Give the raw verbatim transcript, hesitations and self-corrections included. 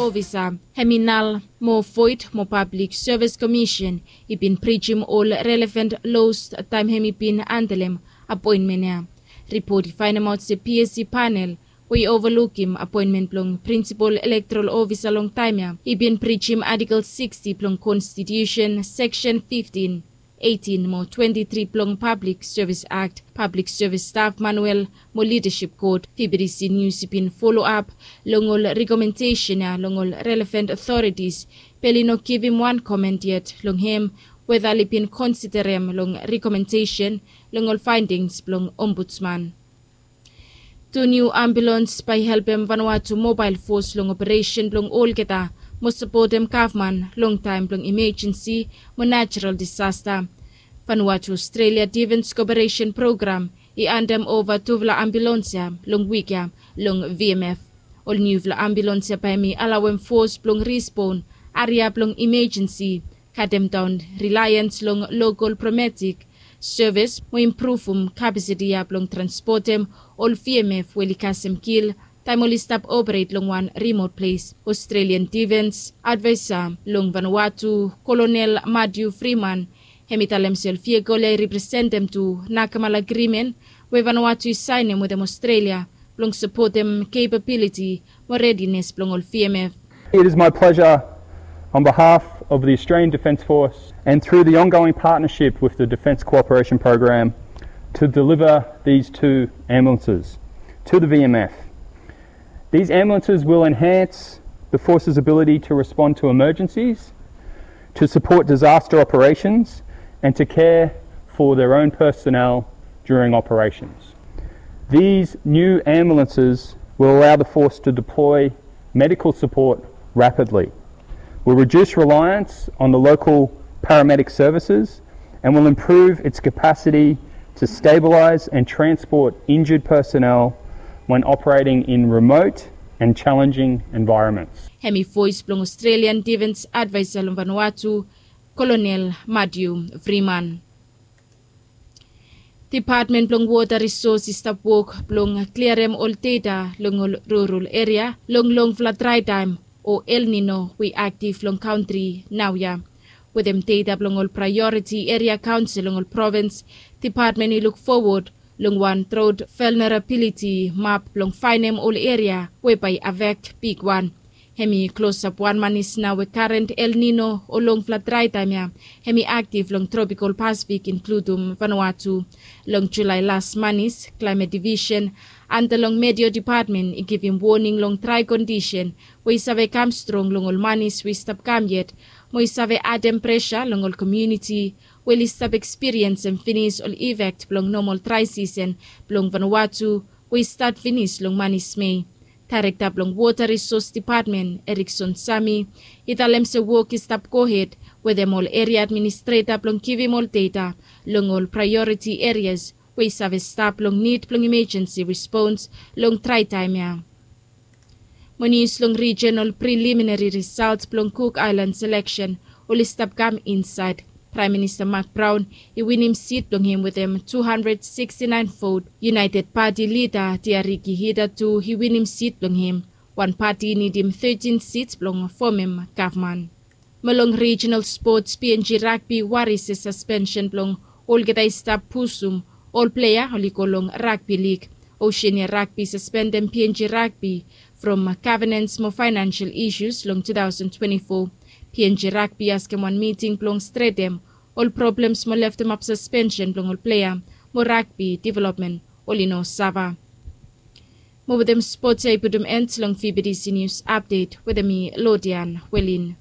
Ofisa, hem i nal mo void mo Pablik Sevis Komisen i bin prijim ol relevant los taem hem i bin andelem apoenmen ya. Ripot i faenemaot se PSC panel we i ovalukim apoenmen blong prinsipol elektoral ofisa long taem ya i bin prijim Artikel sixty blong Konstitusen, Seksen fiftin, eitin mo twenti tri blong Pablik Sevis Akt, Pablik Sevis Staf Manuel mo Lidasip Kod. VBTC Nius i bin foloap long ol rekomendesen ya long ol relevant otoritis, be oli no givim wan komen yet long hem weta oli bin konsiderem long rekomendesen long ol faendings blong Ombudsman. Tu niu ambulans bae i helpem Vanuatu Mobael Fos long operesen blong olgeta mo sapotem gavman long taem blong imejensi mo najerol disasta. Vanuatu Australia Defens Koperesen Program i andem ova tufala ambulans ya long wik ya long VMF. Ol niufala ambulans ya bae hem i alawem fos blong risbon, aria blong imejensi, katemdaon rilaens long lokol paramedic sevis mo impruvum kapasiti ya blong transpotem ol VMF we oli kasem kil taem oli stap operet long wan rimot ples. Australian Defens Advaesa long Vanuatu, Kolonel Matthew Freeman, hem i talem se ol vehikol ya i representem tu Nakemal Agrimen we Vanuatu i saenem wetem Australia blong sapotem kepabiliti mo redines blong ol VMF. It is my pleasure, on behalf of the Australian Defence Force and through the ongoing partnership with the Defence Cooperation Program, to deliver these two ambulances to the VMF. These ambulances will enhance the force's ability to respond to emergencies, to support disaster operations, and to care for their own personnel during operations. These new ambulances will allow the force to deploy medical support rapidly, will reduce reliance on the local paramedic services, and will improve its capacity to stabilise and transport injured personnel when operating in remote and challenging environments. Hem i voes blong Australian Defence Adviser long Vanuatu, Kolonel Matthew Freeman. Depatmen blong Wota Risos i stap wok blong kliarem ol deta long ol rurol eria long longfala drae taem o El Nino we i aktif long kantri naoia. Wetem deta blong ol Praeoriti Eria Kaonsel long ol provins, depatmen i luk fowod long wan drot vulnerabiliti map blong faenem ol eria we bae i afekt bigwan. Hem i klosap wan manis nao we karen El Nino o longfala drae taem ya hem i aktif long tropikol Pasifik, inkludum Vanuatu. Long Julae las manis, Klaemet Divisen anda long Meteo Depatmen i givim woning long drae kondisen we i save kam strong long ol manis we i stap kam yet, mo i save adem presa long ol komuniti we oli stap ekspiriensem finis ol ifekt blong nomol drae sisen blong Vanuatu we i stat finis long manis Mei. Daerekta blong Wota Risos Depatmen, Erikson Sami, i talem se wok i stap gohed wetem ol eria administreta blong givim ol deta long ol praeoriti erias we i save stap long nid blong imejensi respons long drae taem ya. Mo nius long rijinal priliminari risaot blong Cook Islands eleksen oli stap kam insaed. Praem Minista Mark Brown i winim sit blong hem wetem tu handred siksti naen vot. United Pati lida Tiariki Hida tu i winim sit blong hem. Wan pati i nidim tetin sits blong fomem gavman. Mo long rijinal spots, PNG Rugby wari se saspensen blong olgeta i stap pusum ol plea oli go long ragbi lig. Oceania Rugby saspendem PNG Rugby from gavenans mo faenansel isus long tu taosen twenti fo. PNG Rugby askem wan miting blong stretem ol problems mo leftemap saspensen blong ol plea mo ragbi developmen oli no sava. Mo wetem spots ya i putum end long VBTC Nius Apdet wetem mi, Lodian Welin.